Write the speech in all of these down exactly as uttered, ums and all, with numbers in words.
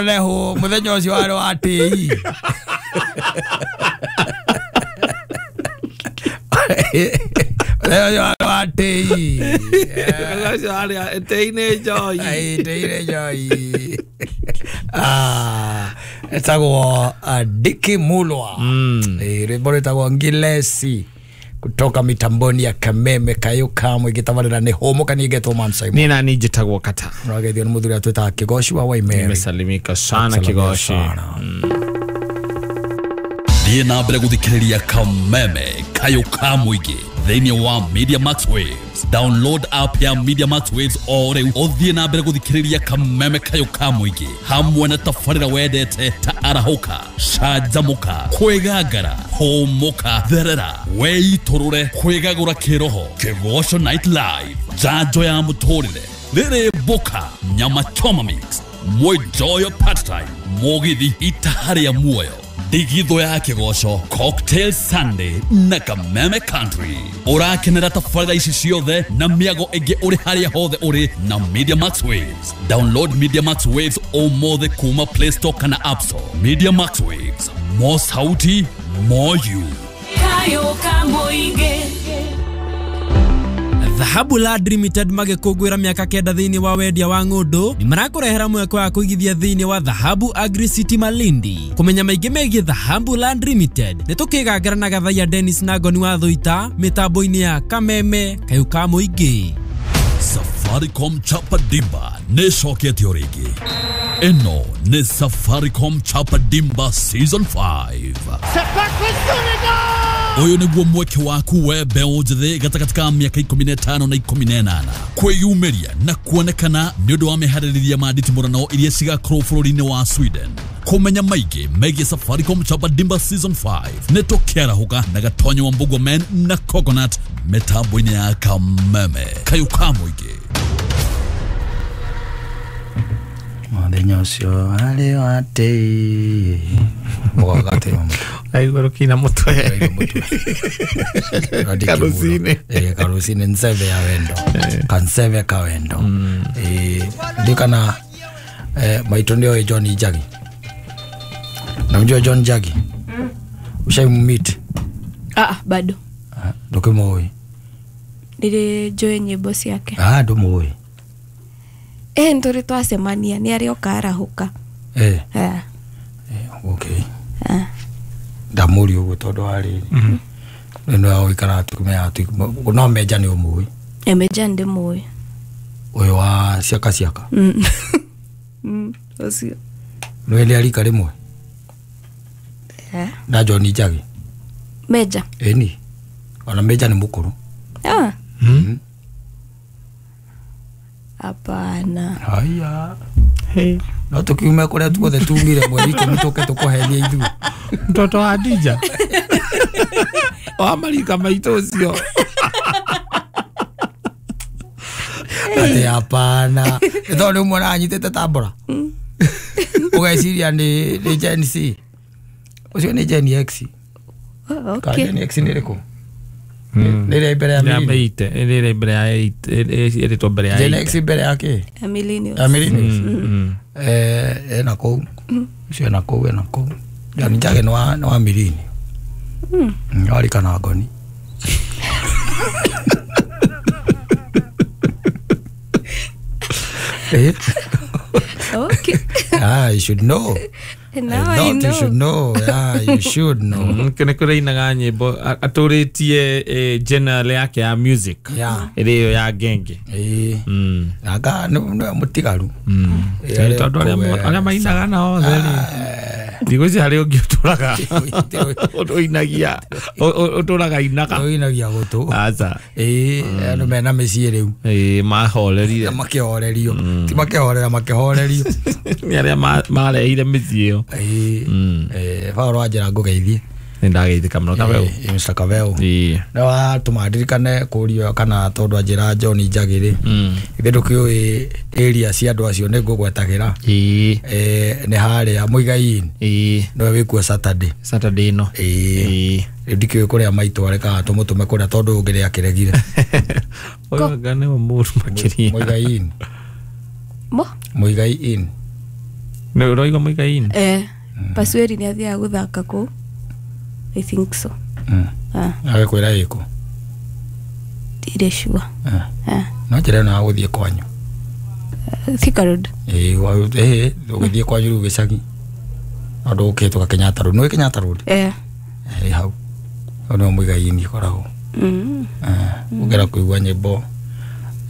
Leho muthenya ucio wari wa tei. Leo wa tei. Ucio wari tei ni joy. Ai tei ni joy. Ah, etagwo Diki Mulwa. Eh, rwimbo rwitagwo Ngilesi kutoka mitamboni ya Kameme Kayo Kamwe gitabarira ni homo kanigetwo Man Simon. Ni nani njitagwo Kata. Muragethio ni muthuri atwitaga Kigoshi wa Waimeri. Nimesalimika sana Kigoshi. Thiĩ na mbere gũthikĩrĩria Kameme Kayo Kamwe thĩinĩ wa Media Max Waves. Download app ya Media Max Waves o rĩu ũthiĩ na mbere gũthikĩrĩria Kameme Kayo Kamwe hamwe na tabarĩra wendete ta arahũka, canjamũka, kwĩgangara, hũmũka, therera, weitũrũre, kwĩgagũra kĩroho, Kĩgoco Night Live, njanjo ya mũtũrĩre, rĩrĩ mboka, nyama choma mix, mwenjoyo part time, mũgithi itaharĩa muoyo, Digitho ya Kĩgoco, Cocktail Sunday na Kameme Country. Ũrakenera tabarĩra ici ciothe na mĩago ĩngĩ ũrĩ harĩa hothe ũrĩ na Media Max Waves. Download Media Max Waves ũmũthĩ kuma Play Store kana App Store. Media Max Waves, more sauti, more you. Kayo Kamũingĩ. Dhahabu Land Limited magĩkũngũĩra mĩaka kenda thĩinĩ wa wendia wa ng'ũndũ nĩ marakũrehera mweke wa kũigithia thĩinĩ wa Dhahabu Agri City Malindi. Kũmenya maingĩ megiĩ Dhahabu Land Limited nĩ tũkĩgangara na Gathaiya Dennis na Ngoni wa Thũita mĩtambo-inĩ ya Kameme Kayo Kamũingĩ. Safaricom Chapa Dimba nĩ ĩcoketio rĩngĩ. Ĩno nĩ Safaricom Chapa Dimba Season five. Ũyũ nĩguo mweke waku we mbeũ njĩthĩ gatagatĩ ka mĩaka ikũmi na ĩtano na ikũmi na ĩnana kwĩyumĩria na kuonekana nĩ ũndũ wa meharĩrĩria ma nditimũrano iria cigakorwo bũrũri-inĩ wa Sweden. Kũmenya maingĩ megiĩ Safaricom Chapa Dimba Season five nĩ tũkĩarahũka na Gatonyo wa Mbugua Men na Coconut mĩtambo-inĩ ya Kameme Kayo Kamũingĩ. Mũthenya ũcio warĩ wa tei. Mũgagate Aigua rũkina mũtwe. Karũcinĩ. Eh, karũcinĩ nseve ya wendo. Kanseve ka wendo. Eh, ndikana eh maitũ nĩoĩ John Njagi. Namjua John Njagi? Mm. Ushaimmeet? Ah, bado. Ah, ndũkĩmũĩ? Nĩrĩ njũĩ nyĩmbo ciake. Ah, ndũmũĩ. Eh, ntũrĩ twacemania nĩ arĩ oka arahũka. Eh. Eh. Eh, okay. Ah. Ndamũria ũguo tondũ wa rĩrĩ. Nĩ nĩ ũikaraga tũkĩmenyaga atĩ no Meja nĩ ũmũĩ. Eh, Meja ndĩmũĩ. Ũyũ wa ciaka ciaka. Mm. Mm, ũcio. Nĩ nĩ arika rĩmwe? Eh. Na John Njagi. Meja. Ĩni. Ona Meja nĩ mũkũrũ. Ah. Mm. Hapana. Haya. Hey. No tukiume kũrĩa tuothe tumire mweri ikũmi tũke tũkũhenie ithuĩ. Mtoto wa Adija. Wa marika maitũ ũcio. Atĩ hapana. Nĩ tondũ rĩu mwana anyitĩte tambora. Ũgeciria nĩ nĩ Gen C. Ũcio nĩ Gen X. Oh, Ka okay. Gen X nĩ ĩrĩkũ? Nĩ ĩrĩa mbere ya Ya millennium. meite, ĩrĩa mbere ya eight, ĩrĩtwo mbere ya Gen eight. X mbere ya kĩ? Ya millennials. Ya millennials. Mm. Eh, ena kũu. Ũcio ena kũu, ena kũu. John Njagi nĩ wa nĩ wa millennium. Mm. Warika na Ngoni. Eh? Okay. Ah, you should know. Now I I thought you know. should know. Yeah, you should know. Nĩ kũrĩ ainaga nyĩmbo atũrĩtie genre yake ya music. Yeah. Ĩrĩ ĩyo ya genge. Eh. Mm. Anga nĩ mũtigaru. Mm. Eh, Tondũ arĩa kũwe- arĩa mainaga nao othe rĩ. Thikũ ici harĩ ũngĩ ũtũraga ũinagia ũtũraga inaga. Ũinagia gũtũ. Aca. Ĩĩ, andũ mena mĩciĩ rĩu. Ĩĩ mahorerire. Makĩhorerio. Ti makĩhorera makĩhorerio. Nĩ arĩa marehire mĩciĩ ĩyo. Ĩĩ. Eh, Paul wanjĩra ngũgeithie. Nĩ ndageithĩka mũno Kabeu. Ĩĩ, Mister Kabeu. Ĩĩ. Nĩ watũma ndirikane kũrio kana tondũ anjĩra John Njagi rĩ. Ithe ndũkĩũĩ area cia andũ acio nĩ ngũgwetagĩra. Ĩĩ. Eh, nĩ harĩa Muigai-inĩ. Ĩĩ. Nĩwe wĩkuo Saturday. Saturday ĩno. Ĩĩ. Ĩĩ. Rĩu ndikĩũĩ kũrĩa maitũ arekaga tũmũtũme kũrĩa tondũ ũngĩ nĩakĩregire. Ũyũ anga nĩwe mũru makĩria. Muigai-inĩ. Mo? Muigai-inĩ. Nĩ ũroigua Mũigai-inĩ? Eh, Pasueri nĩ athiaga gũthaka kũu. I think so. Mm. Ah, Agĩkwĩra ĩkũ? Ndirĩ sure. Ah. Ah, No njĩra ĩno ya gũthiĩ kwanyu. Thika Road. Ĩĩ, wa- ĩĩ, ũgĩthiĩ kwanyu rĩu gĩcagi. No ndũgũkĩhĩtũka Kenyatta Road. Nĩũĩ Kenyatta Road? Eh. Ĩ hau. Hau nĩho Mũigai-inĩ ĩkoragwo. Mm. Eh, ũngĩenda kũigua nyĩmbo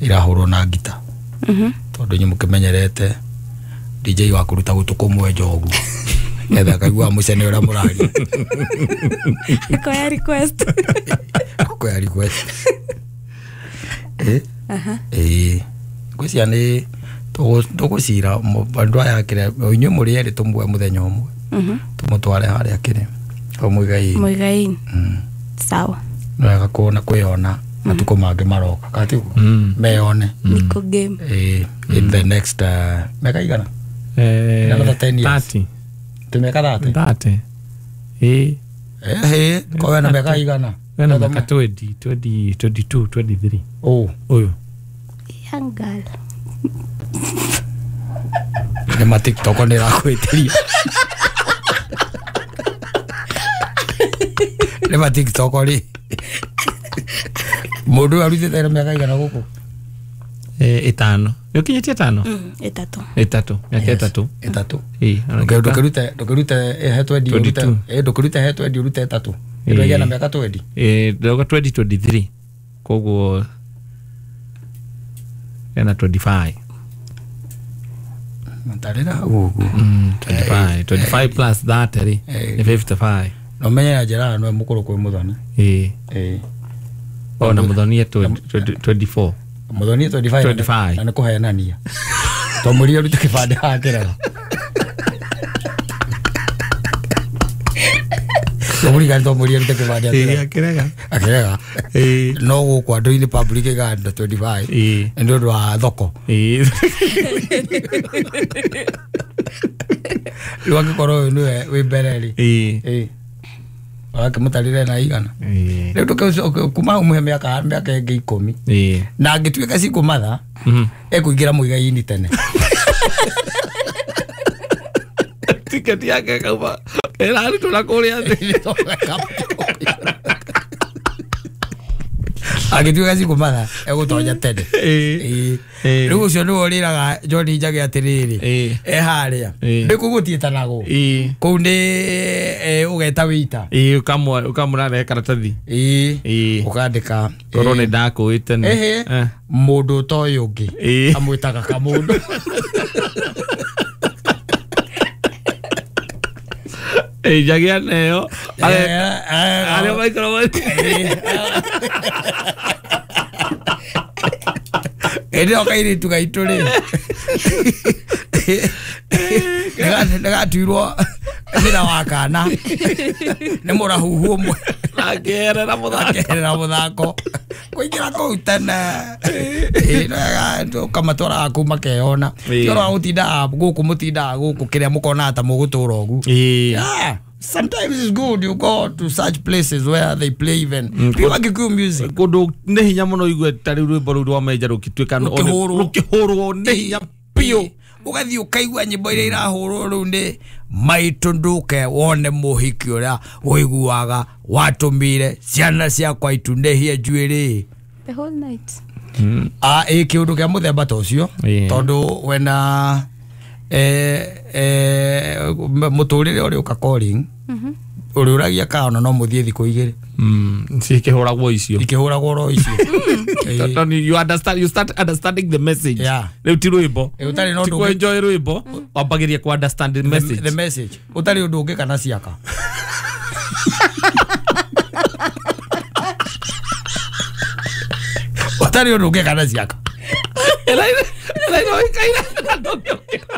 irahũrwo na ngita. Mhm. Tondũ inyuĩ mũkĩmenyerete D J wa kũruta gũtũ kũmwe njogu. Nĩgetha akaigua mũcene ũrĩa mũraria. Akoya request. Akoya request. Eh? Aha. Ĩĩ. Ngwĩciria nĩ tũgũcira andũ aya kĩrĩa inyuĩ mũrĩ erĩ tũmuoe mũthenya ũmwe. Mhm. Tũmũtware harĩa kĩrĩa hau Mũigai-inĩ. Mũigai-inĩ. Mm. Sawa. Nĩ wega kuona kwĩyona matukũ mangĩ maroka katiguo Mm. meyone. Niko game. Ĩĩ, in the next uh, mĩaka igana? Eh, Another ten years. thirty. Tĩ mĩaka thirty? Thirty. Ĩĩ. Ĩhĩ, korwo wena mĩaka igana? Wena mĩaka twenty, twenty, twenty-two, twenty-three. Ũ. Ũyũ. Young girl. Nĩ ma TikTok nĩ ĩrakwĩtĩria. Nĩ ma TikTok rĩ. Mũndũ ũyũ arutĩte na mĩaka igana gũkũ? Eh, ĩtano. Nĩ ũkinyĩtie ĩtano? Mm, ĩtatũ. Ĩtatũ. Mĩaka ĩtatũ. Ĩtatũ. Ĩĩ. Ndũkĩrute ndũkĩrute he twenty ũrute Twenty-two. ĩ ndũkĩrute he twenty ũrute ĩtatũ. Ĩĩ. Ĩrũgĩa na mĩaka twenty. Eh, ndauga twenty twenty-three. Koguo ena twenty-five. Matarĩra hau ũguo. Mm, twenty-five. twenty-five plus thirty rĩ, Eh. nĩ fifty-five. No menye na njĩra nĩwe mũkũrũ kwĩ Mũthoni. Ĩĩ. Ĩĩ. Ona Mũthoni e twenty-four. Mũthoni twenty-five. twenty-five. Na nĩ kũhenania. Twamũrire arute kĩbandĩ hakĩrega. Twamũrire twamũrire arute kĩbandĩ Ĩĩ, akĩrega. akĩrega. Akĩrega. Ĩĩ. No gũkũ andũ-inĩ public ĩganda twenty-five. Ĩĩ. Nĩ ũndũ wa thoko. Ĩĩ. Rĩu angĩkorwo ũyũ nĩwe wĩ mbere rĩ. Ĩĩ. Ĩĩ. Ũrakĩmũtarĩre na igana. Ĩĩ. Rĩu ndũkĩ kuma ũmũhe mĩaka mĩaka ĩngĩ ikũmi. Ĩĩ. Na angĩtuĩka cikũmatha Mhm. ekũingĩra Mũigai-inĩ tene. Tiketi yake ĩkauma ĩrarutwo na kũrĩa thĩ. Angĩtuĩka cikũmatha egũtonya tene. Ĩĩ. Ĩĩ. Ĩĩ. Rĩu ũcio nĩwe ũrĩraga John Njagi atĩrĩrĩ. Ĩĩ. E harĩa. Ĩĩ. Nĩ kũu gũtiĩtanagwo. Ĩĩ. Kũu nĩ eh, ũgeta wĩita. Ĩĩ, ũkamwa ũkamũrarehe karatathi. Ĩĩ. Ĩĩ. Ũkandĩka. Korwo nĩ ndakũĩ tene. Ĩhĩ. Eh. Mũndũ ũtoĩ ũngĩ. Ĩĩ. Amwĩtaga kamũndũ. Ĩĩ, Njagi aneo. Eh, eh, Arĩa maikara Ĩndĩ ĩyo kairĩtu gaitũ rĩ. Nĩgatuirwo nyina wa kana. Nĩ mũrahuhu ũmwe. Akĩerera mũthako. Akĩerera mũthako. Kũingĩra kũu tene. Ĩĩ, ũkamatwaraga kũu makeyona. Ĩĩ. Ti ũhoro wa gũtindaga gũkũ mũtindaga gũkũ kĩrĩa mũkonaga ta mũgũtũra ũguo. Ĩĩ. Yeah. Sometimes it's good you go to such places where they play even Mm, pure Kikuyu music. Kũndũ nĩ hinya mũno igue ta rĩu rwĩmbo rũu rwa Menja rũgĩtuĩka nĩ- Rũkĩhũrwo. rũkĩhũrwo nĩ hinya biũ. Ũgathiĩ ũkaigua nyĩmbo iria irahũrwo rĩu nĩ maitũ ndũke wone mũhiki ũrĩa ũiguaga watũmire ciana ciakwa itunĩhie njuĩrĩ. The whole night. Ah, ĩ kĩũndũ kĩa mũthemba ta ũcio Ĩĩ. tondũ wena eh, eh, mũtũrĩre ũrĩa ũka calling ũrĩũragia kana ona no mũthiĩ thikũ igĩrĩ Mm, cikĩhũragwo icio. ikĩhũragwo ro icio. Ĩĩ. Tondũ you understand, you start understanding the message. Yeah. Rĩu ti rwĩmbo. Ĩ, ũtarĩ na Ti ũndũ kũ ũngĩ- enjoy rwĩmbo, wambagĩria kũ understand the the message. the message ũtarĩ ũndũ ũngĩ kana ciaka. Ũtarĩ ũndũ ũngĩ kana ciaka. Ĩra- ĩra ĩroĩkaine na ndũngĩũkĩra.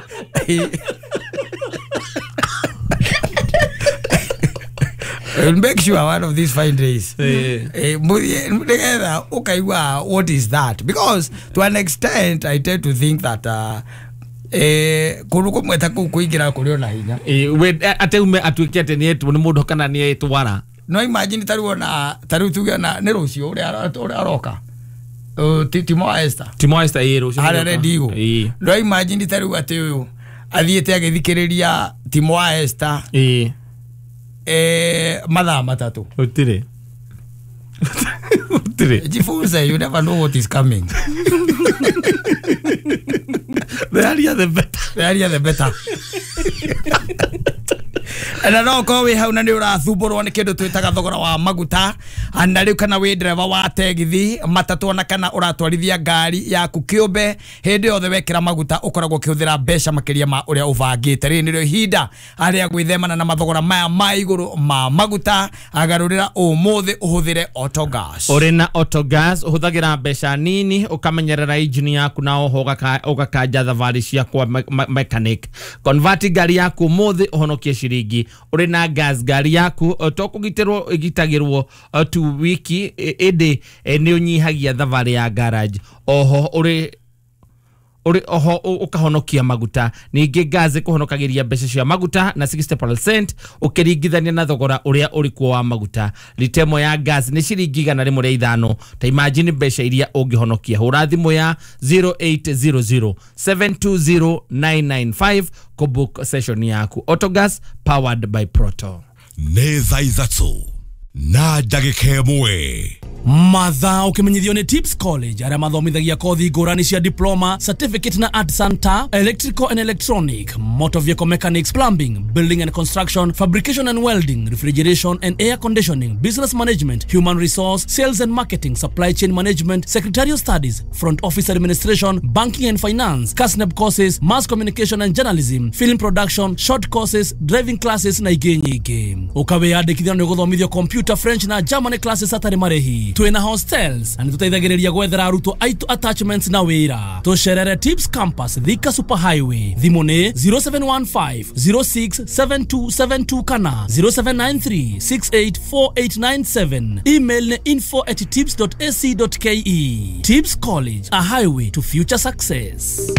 We'll make sure one of these fine days. Ĩĩ. Eh, mũthiĩ nĩgetha ũkaigua what is that, because to an extent I tend to think that uh, eh, kũndũ kũmwe ta kũu kũingĩra kũrĩ ona hinya. Ĩĩ, we ate ume atuĩke atĩ nĩ etwo nĩ mũndũ kana nĩ etwara. No imagine ta rĩu ona ta rĩu tuge ona nĩ rũciũ ũrĩa ũrĩa aroka. Uh, ti Timo Esther. Timo Esther ĩĩ rũciũ. Harĩa Red Eagle. Ĩĩ. No imagine ta rĩu atĩ ũyũ Athiĩte agĩthikĩrĩria Timo wa Esther ĩĩ eh, mathaa matatũ. Gũtirĩ gũtirĩ. Jifunze, you never know what is coming. The earlier the better. The earlier the better. Na no korwo wĩ hau na nĩ ũrathumbũrwo nĩ kĩndũ twĩtaga thogora wa maguta, na rĩu kana wĩ ndereba wa tegithi matatũ ona kana ũratwarithia ngari yaku kĩũmbe, hĩndĩ yothe wekĩra maguta ũkoragwo ũkĩhũthĩra mbeca makĩria ma ũrĩa ũbangĩte. Rĩrĩ nĩrĩo ihinda arĩa gwĩthemana na mathogora maya ma igũrũ ma maguta. Agarũrĩra ũmũthĩ ũhũthĩre Autogas. Ũrĩ na Autogas ũhũthagĩra mbeca nini ũkamenyerera injini yaku na oho ũgakanja thabarĩ cia kwa mechanic. Convert ngari yaku ũmũthĩ ũhonokie ciringi. Ũrĩ na gas ngari yaku to kũgitĩrwo ĩgitagĩrwo tu wiki ĩndĩ nĩ ũnyihagia thabarĩ ya garage. Oho ũrĩ ũrĩ oho ũkahonokia maguta. Ningĩ gas ĩkũhonokagĩria mbeca cia maguta na sixty percent ũkĩringithania na thogora ũrĩa ũrĩ kuo wa maguta. Lita ĩmwe ya gas nĩ ciringi igana rĩmwe rĩa ithano. Ta imagine mbeca iria ũngĩhonokia. Hũra thimũ ya zero eight zero zero seven two zero nine nine five kũbook session yaku. Autogas powered by Proto. Nĩ thaa ithatũ na ndagĩka ĩmwe. Mathaa ũkĩmenyithio nĩ Tips College arĩa mathomithagia kothi ngũrani cia diploma, certificate na art center, electrical and electronic, motor vehicle mechanics, plumbing, building and construction, fabrication and welding, refrigeration and air conditioning, business management, human resource, sales and marketing, supply chain management, secretarial studies, front office administration, banking and finance, KASNEB courses, mass communication and journalism, film production, short courses, driving classes na ingĩ nyingĩ. Ũkawĩyandĩkithia nĩ ũgũthomithio computer, French na German classes hatarĩ marĩhi. Twĩna hostels na nĩtũteithagĩrĩria gwethera arutwo aitũ attachments na wĩra. Tũcerere Tips Campus, Thika Super Highway. Thimũ nĩ zero seven one five zero six seven two seven two kana zero seven nine three six eight four eight nine seven. Email nĩ info at tips dot a c dot k e. Tips College, a highway to future success.